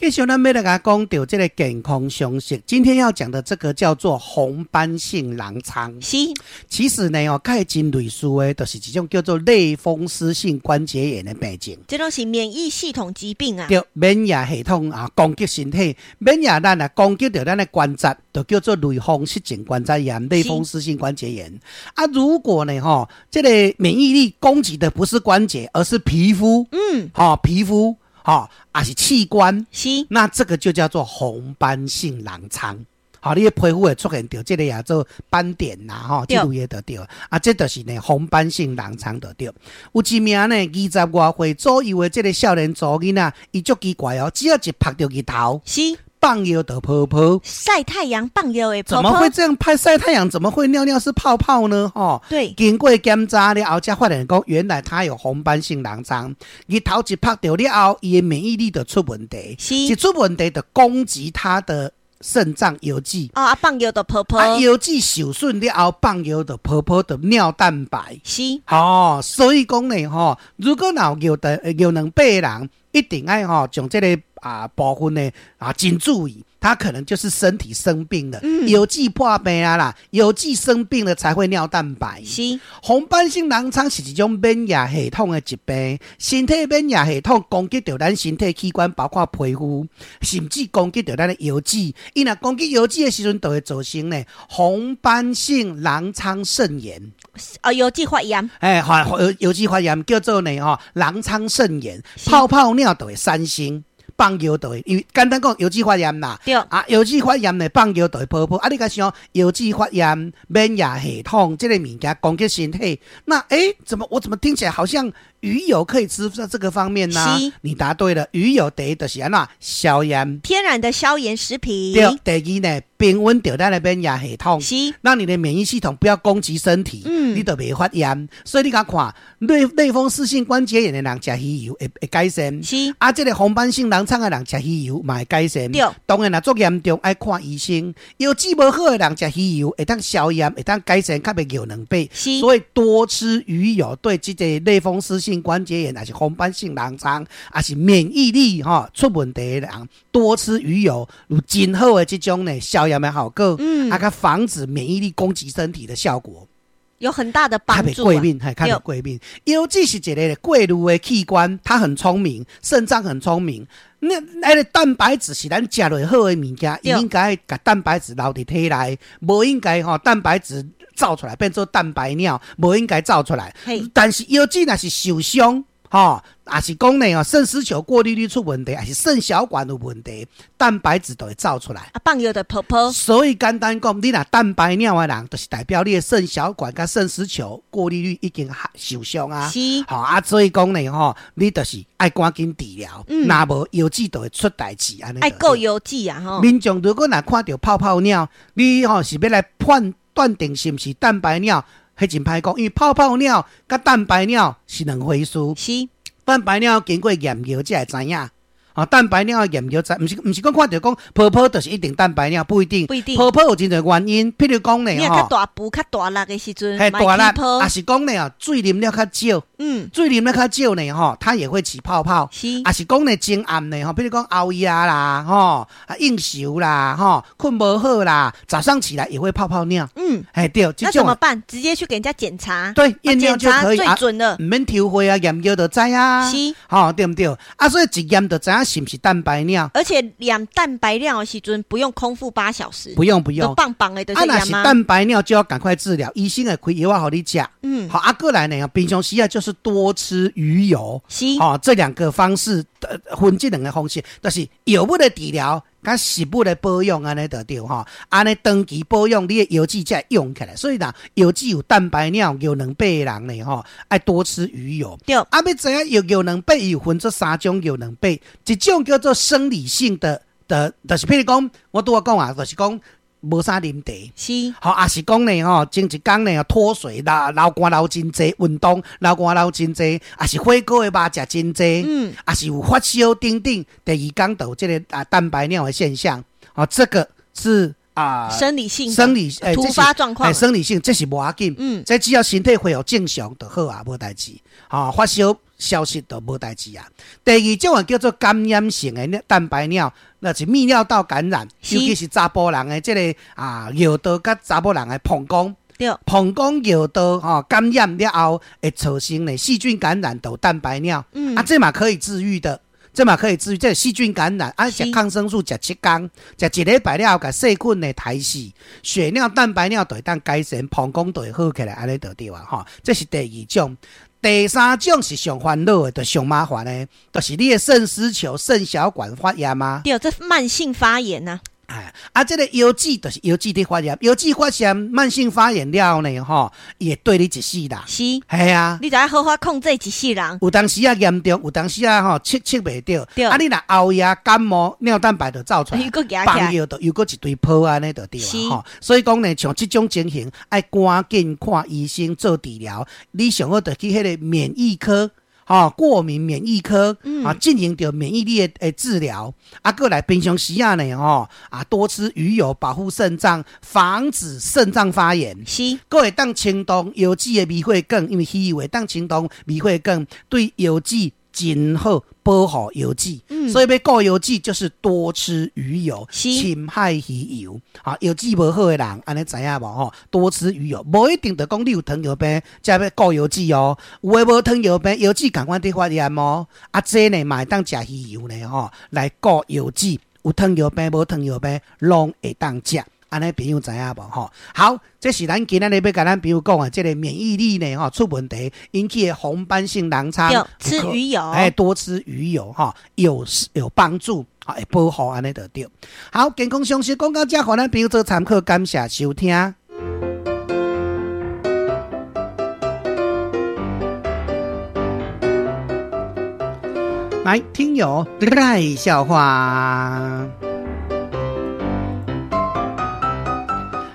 繼續咱欲來共講著這个健康常識。今天要講的這個叫做紅斑性狼瘡。其實呢，哦，佮伊真類似的，就是一種叫做類風濕性關節炎的病症。這攏是免疫系統疾病啊。對，免疫系統啊，攻擊身體，免疫咱啊攻擊著咱的關節，就叫做類風濕性關節炎、類風濕性關節炎。啊，如果呢，吼，這个免疫力攻擊的不是關節，而是皮膚，吼，皮膚。吼，抑是器官，那這個就叫做紅斑性狼瘡。好，你的皮膚會出現著這个叫做斑點啦，吼，這類的就對。啊，這就是呢紅斑性狼瘡就對。有一名呢20外歲左右的這个少年查某囡仔，伊足奇怪哦，只要一曝著日頭，放尿就泡泡。曬太陽放尿會泡泡。怎麼會這樣拍曬太陽？怎麼會尿尿是泡泡呢？吼，經過檢查了後，才發現講原來他有紅斑性狼瘡。日頭一曝著了後，伊的免疫力就出問題。一出問題就攻擊他的腎臟油脂。哦，啊，放尿就泡泡。啊，油脂受損了後，放尿就泡泡，就尿蛋白。哦，所以講呢，吼，如果若有尿的尿卵白的人，一定愛吼將這个部分呢真注意，他可能就是身體生病了，藥劑破病啊啦，藥劑生病了才會尿蛋白。紅斑性狼瘡是一種免疫系統的疾病，身體免疫系統攻擊著咱身體器官，包括皮膚，甚至攻擊著咱的腰子。伊若攻擊腰子的時陣，就會造成呢紅斑性狼瘡腎炎。哦，腰子發炎。哎，發腰子發炎叫做呢吼狼瘡腎炎，泡泡尿就會產生。放尿就會，因為簡單講，腰子發炎啦。啊，腰子發炎呢，放尿就會泡泡。啊，你共想，腰子發炎，免疫系統這个物件攻擊身體，那怎麼我怎麼聽起來好像魚油可以吃在這個方面呢？你答對了，魚油第一就是按怎消炎，天然的消炎食品。對，第二呢，平穩著咱的免疫系統，讓你的免疫系統不要攻擊身體，你就袂發炎。所以你共看，類風濕性關節炎的人食魚油會改善。啊，這个紅斑性狼瘡的人食魚油嘛會改善。當然若足嚴重愛看醫生。腰子無好的人食魚油會當消炎，會當改善，較袂尿卵白。所以多吃魚油對這个類風濕性關節炎，抑是紅斑性狼瘡，抑是免疫力吼出問題的人，多吃魚油有真好的這種呢消炎的效果，啊，佮防止免疫力攻擊身體的效果。有很大的幫助。較袂過敏，還較袂過敏。腰子是一个過濾的器官，它很聰明，腎臟很聰明。那个蛋白質是咱食落好的物件，伊應該共蛋白質留佇體內，無應該吼蛋白質走出來變做蛋白尿，無應該走出來。但是腰子若是受傷，吼，抑是講呢，腎絲球過濾率出問題，抑是腎小管有問題，蛋白質就會走出來。啊，放尿就泡泡。所以簡單講，你若蛋白尿的人，就是代表你的腎小管佮腎絲球過濾率已經受傷啊。吼啊，所以講呢，吼，你就是愛趕緊治療，若無腰子就會出代誌按呢。愛顧腰子啊，吼。民眾如果若看著泡泡尿，你吼是欲來判斷定是毋是蛋白尿，彼真歹講，因為泡泡尿佮蛋白尿是兩回事。蛋白尿經過驗尿才會知影。啊，蛋白尿驗尿知，毋是講看著講泡泡就是一定蛋白尿，不一定。不一定。泡泡有真濟原因，譬如講呢，你較大步較大力的時陣，嘿，大力，抑是講呢，水啉了較少，水啉了較少呢，吼，它也會起泡泡。抑是講呢，真暗呢，吼，譬如講熬夜啦，吼，啊應酬啦，吼，睏無好啦，早上起來也會泡泡尿。嘿對。那怎麼辦？直接去給人家檢查。對，驗尿就可以。最準了。毋免抽血啊，驗尿就知啊。吼，對毋對？啊，所以一驗就知影是毋是蛋白尿。而且驗蛋白尿的時陣不用空腹8小時。不用不用。棒棒的，啊，若是蛋白尿就要趕快治療，醫生會開藥仔予你食。好，啊，過來呢，平常時啊就是多吃魚油。好，這兩個方式，分這兩個方式，就是藥物的治療，佮食物的保養按呢就對吼，按呢長期保養，你的腰子才會用起來。所以若腰子有蛋白尿、尿卵白的人呢，吼，愛多吃魚油。啊，欲知影尿卵白有分做三種尿卵白，一種叫做生理性的，就是譬如講，我拄仔講啊，就是講無啥啉茶。吼，抑是講呢，吼，前一工呢脫水，流流汗流真濟，運動流汗流真濟，抑是火鍋的肉食真濟，抑是有發燒等等，第二工就有這个蛋白尿的現象。啊，這個是啊，生理性生理突發狀況，生理性這是無要緊，這只要身體恢復正常就好啊，無代誌。啊，發燒。消失就無代誌啊。第二種啊叫做感染性的蛋白尿，那是泌尿道感染，尤其是查埔人的這个啊尿道佮查某人的膀胱，膀胱尿道吼感染了後會造成呢細菌感染，就蛋白尿。啊，這嘛可以治癒的。這嘛可以治癒，這細菌感染，啊，食抗生素食7天，食一禮拜了後，共細菌呢刣死，血尿蛋白尿就會當改善，膀胱就會好起來，按呢就對啊，吼，這是第二種。第三種是上煩惱的，就上麻煩的，就是你的腎絲球、腎小管發炎啊。對，這慢性發炎啊。哎，啊，這个腰子就是腰子佇發炎，腰子發炎，慢性發炎了後呢，吼，伊會綴你一世人。是，係啊，你就愛好好控制一世人。有當時啊嚴重，有當時啊吼，測測袂著。對。啊，你若熬夜感冒，尿蛋白就走出來，放尿就又閣一堆泡按呢就對啊，吼。所以講呢，像這種情形，愛趕緊看醫生做治療。你上好就去彼个免疫科。吼，過敏免疫科，啊，進行著免疫力的治療，啊，閣來平常時啊呢，吼，啊，多吃魚油保護腎臟，防止腎臟發炎。是，閣會當清動腰子的微血管，因為魚油會當清動微血管，對腰子真好，保護腰子。所以欲顧腰子就是多吃魚油，深海魚油。啊，腰子無好的人，按呢知影無吼？多吃魚油，無一定就講你有糖尿病才欲顧腰子哦。有的無糖尿病，腰子仝款佇發炎哦。啊，這呢嘛會當食魚油呢吼，來顧腰子。有糖尿病無糖尿病，攏會當食。按呢朋友知影無吼？好，這是咱今仔日欲共咱朋友講的，這个免疫力呢吼出問題，引起的紅斑性狼瘡，吃魚油，哎，多吃魚油吼，有幫助，會保護按呢就對。好，健康常識講到這，予咱朋友做參考，感謝收聽。來，聽友來笑話。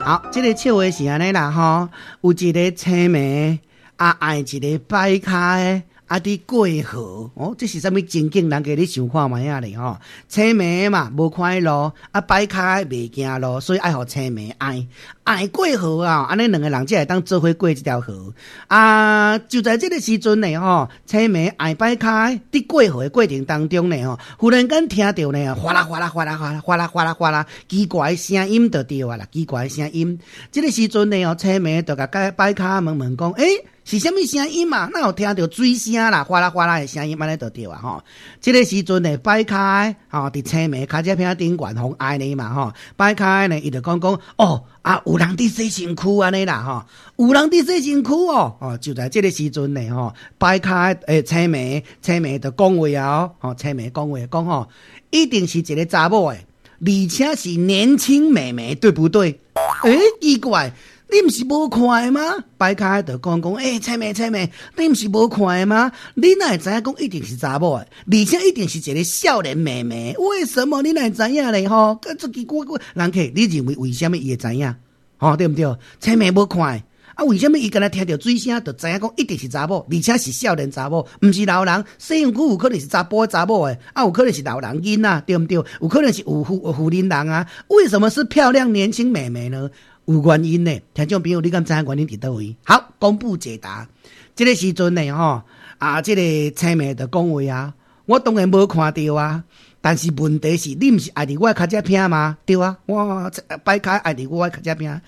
好，這个笑話是按呢啦吼，有一个青暝啊，愛一个擺跤的啊，佇過河哦，這是啥物情景？人家咧想看覓仔咧吼？青暝嘛，無看路，啊，擺跤的袂行路，所以愛予青暝愛愛過河啊！按呢兩个人才會當做伙過這條河啊！就在這个時陣呢吼，青暝愛擺跤的佇過河的過程當中呢吼，忽然間聽著呢，嘩啦嘩啦嘩啦嘩啦嘩啦嘩啦嘩啦，奇怪的聲音就對啊啦，奇怪的聲音。這个時陣呢吼，青暝就共擺跤問問講，欸，是啥物聲音嘛？哪有聽著水聲啦，嘩啦嘩啦的聲音，按呢就對啊吼。這个時陣呢，擺跤的吼，佇青暝跤跡坪頂懸予愛呢嘛吼，擺跤的呢，伊就講講哦，啊，有人佇洗身軀按呢啦吼，有人佇洗身軀哦，哦，就在這个時陣呢吼，擺跤的青暝，青暝就講話啊，吼，青暝講話講吼，一定是一个查某的，而且是年輕美眉，對不對？欸，奇怪。你毋是無看的嗎？擺跤就講講，欸，青暝青暝，你毋是無看的嗎？你哪會知影講一定是查某的，而且一定是一个少年妹妹？為什麼你哪會知影咧？吼，這奇怪，人客，你認為為啥物伊會知影？吼，對毋對？青暝無看的，啊，為啥物伊敢若聽著水聲就知影講一定是查某，而且是少年查某，毋是老人。洗身軀有可能是查埔查某的，啊，有可能是老人囡仔，對毋對？有可能是有婦人人啊。為什麼是漂亮年輕妹妹呢？有原因的，聽眾朋友，你敢知影原因佇佗位？好，公布解答。這个時陣呢，吼，啊，這个青暝就講話啊，我當然無看著啊，但是問題是，你毋是愛佇我跤跡坪嗎？對啊，我擺跤愛佇我跤跡坪，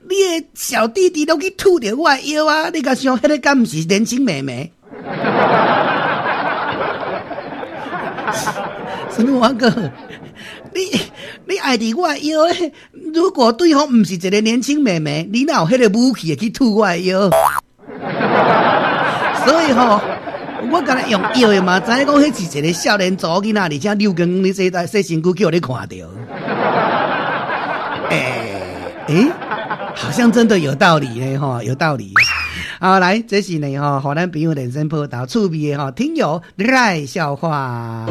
你的小弟弟攏去吐著我的腰啊！你敢想，彼个敢毋是年輕妹妹？什麼我哥？你愛佇我的腰咧？如果對方毋是一个年輕妹妹，你哪有彼個武器會去吐我的腰？所以吼，我敢若用腰的嘛，知影講彼是一个少年查某囡仔，而且溜光你洗洗身軀，叫你看著。欸，好像真的有道理咧吼，有道理。好，來，這是呢吼，予咱朋友人生報道趣味的吼，聽友來笑話。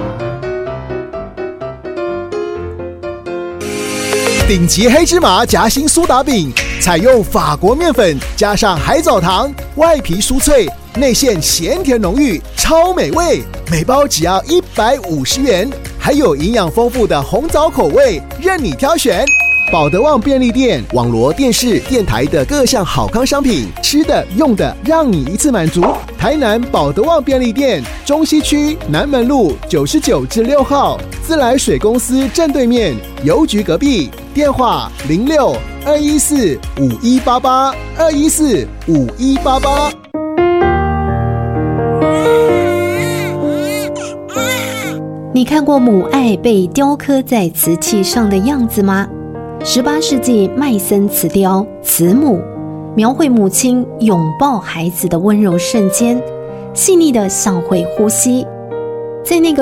頂級黑芝麻夾心蘇打餅，採用法國麵粉加上海藻糖，外皮酥脆，內餡鹹甜濃郁，超美味。每包只要150元，還有營養豐富的紅棗口味，任你挑選。寶德旺便利店，網羅電視、電台的各項好康商品，吃的、用的，讓你一次滿足。台南寶德旺便利店，中西區南門路99之6號，自來水公司正對面，郵局隔壁。電話06-214-5188，214-5188。你看過母愛被雕刻在瓷器上的樣子嗎？18世紀麥森瓷雕《慈母》，描繪母親擁抱孩子的溫柔瞬間，細膩的像會呼吸。在那個